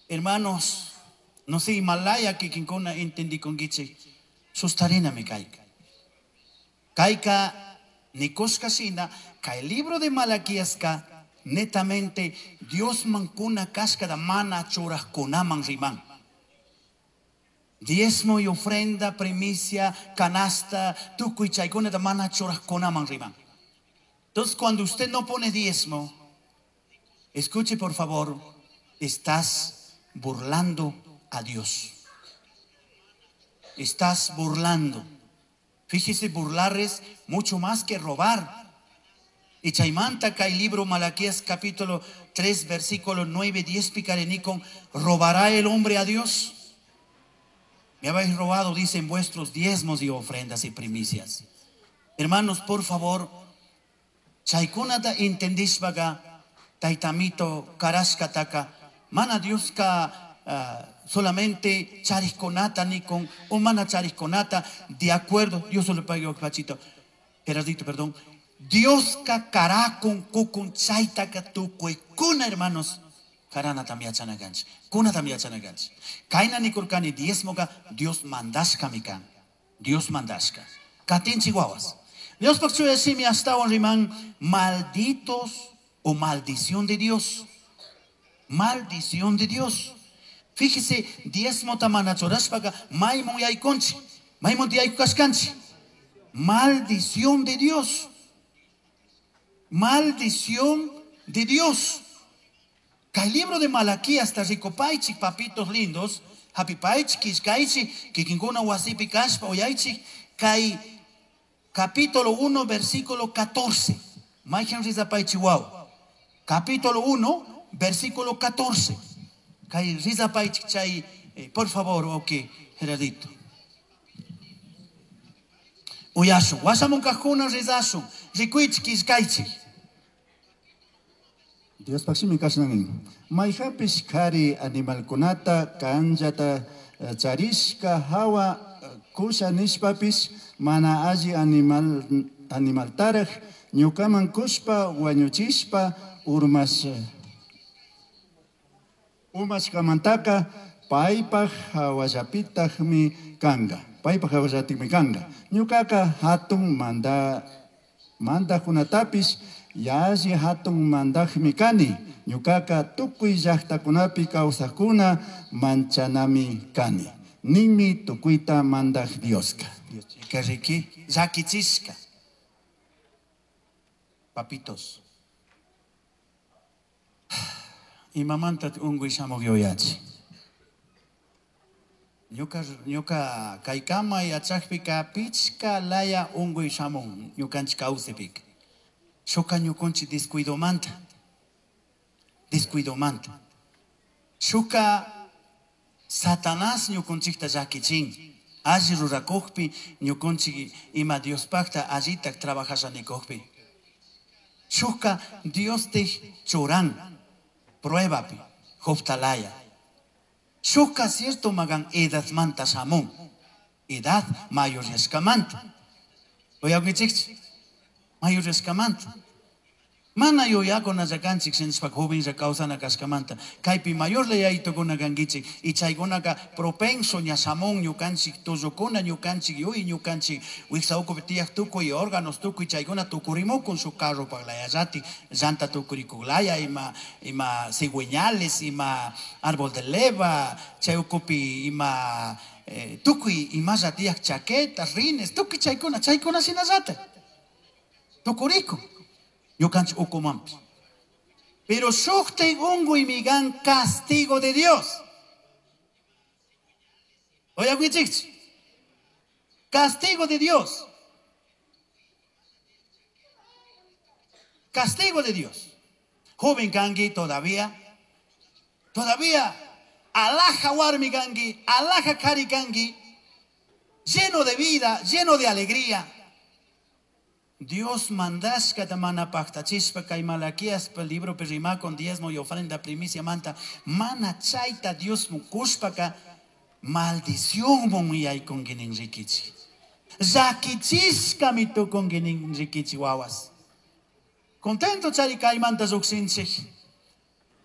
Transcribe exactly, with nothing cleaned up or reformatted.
Hermanos, no sé, Himalaya kikinkuna entendikunkichik, sustarinami kayka. Kayka nikushka shina, kay libro de Malaquiaska netamente Diosman kuna kashkata mana churajkunaman riman. Diezmo y ofrenda, primicia, canasta, tukuy chaykunata mana churajkunaman riman. Entonces, cuando usted no pone diezmo, escuche por favor, estás burlando a Dios. Estás burlando. Fíjese, burlar es mucho más que robar. Y chaymanta kay libro Malaquías capítulo tres, versículo nueve, diez, picarenicon, ¿robará el hombre a Dios? Me habéis robado, dicen, vuestros diezmos y ofrendas y primicias. Hermanos, por favor, chaykunata entendishpaga, taytamito, karashkataka, mana Dioska, uh, solamente charisconata ni con, o mana charisconata, de acuerdo, Dios solo pague pachito, Gerardito, perdón, Dioska karakun kukun chaytaka tukuykuna, hermanos, karana también achanaganch, kuna también achanaganch. Kaina nikurkani diezmoga, Dios mandashka mikan, Dios mandashka. Katin chihuahuas. Dios por su decimi hasta un rimán, malditos o maldición de Dios. Maldición de Dios. Fíjese, diezmo tamana chorashpaga, maymun yaykunchi, maymun tiyaykushkanchi. Maldición de Dios. Maldición de Dios. Kay libro de Malaquías ta ricopaichi, papitos lindos, hapipaichi, kishkaichi, kikinkuna wasipi kashpa oyaichi, kay capítulo uno, versículo catorce. Mayhan rizapaichi wow. Capítulo uno, versículo catorce. Kay rizapaichi chay, eh, por favor, ok, Gerardito. Uyashun, washamun kajuna rizashun, rikuichi kishkaichi. Dios paximi kashnanin. Mayhapish kari animalkunata kanllata, eh, charishka hawa, eh, kusha nishpapish mana alli animal, animaltaraj ñukaman kushpa wañuchishpa urmash, umashkamantaka paypaj hawallapitajmi kanga. Paypaj hawallatikmi kanga. Ñukaka hatun manda, mandajkunatapish yalli hatun mandajmi kani. Ñukaka tukuy llaqtakunapi kawsaqkuna manchanami kani. Ninmi tukuyta mandaj Dioska. Kariki, llakichishka. Papitos. Imamanta unguy shamuq yuyachi. Ñuka, ñuka kaykama yachaqpika pichka laya unguy shamun ñukanchik kawsaypika. Shuka ñukunchik descuidomanta. Descuidomanta. Shuka Satanás ñukunchikta llakichin. Alli rurakuqpi ñukunchik ima Diospaqta allita trabajashanikukpi. Shuka Dios te churan pruebapi, Jobtalaya. Shuka cierto magan edadmanta shamun. Edad mayoreskamanta. Oye, mayoreskamanta. Mana yuyakuna llakanchik shinashpa joven lla kawsana kashkamanta. Kaypi mayor leyaytukuna kankichik y chaykunaka propenso ña shamun ñukanchik tullukuna ñukanchik yuy ñukanchik wiksa ukupi tiyaq tukuy órganos tukuy chaykuna tukurimukun shuk carro paglayallati llanta tukurikuklaya ima, ima cigüeñales ima árbol de leva chay ukupi ima, eh, tukuy imalla tiyaq chaquetas rines tukuy chaykuna chaykuna shinallata tukurikun. Ñukanchik ukumanpis. Pero shuktay unguy migan castigo de Dios. Oye, aguichikchi. Castigo de Dios. Castigo de Dios. Joven kangi todavía. Todavía. Alaja warmi kangi, alaja kari kangi. Lleno de vida, lleno de alegría. Dios mandashka mana paktachispa kay Malaquías pa libro perima con diezmo y ofrenda primicia manta mana chayta Dios mukushpaka maldición mon yaykunki rikichi. Llakichishka mitukunki rikichi wawas. Contento chari kaymanta lluqsinchik.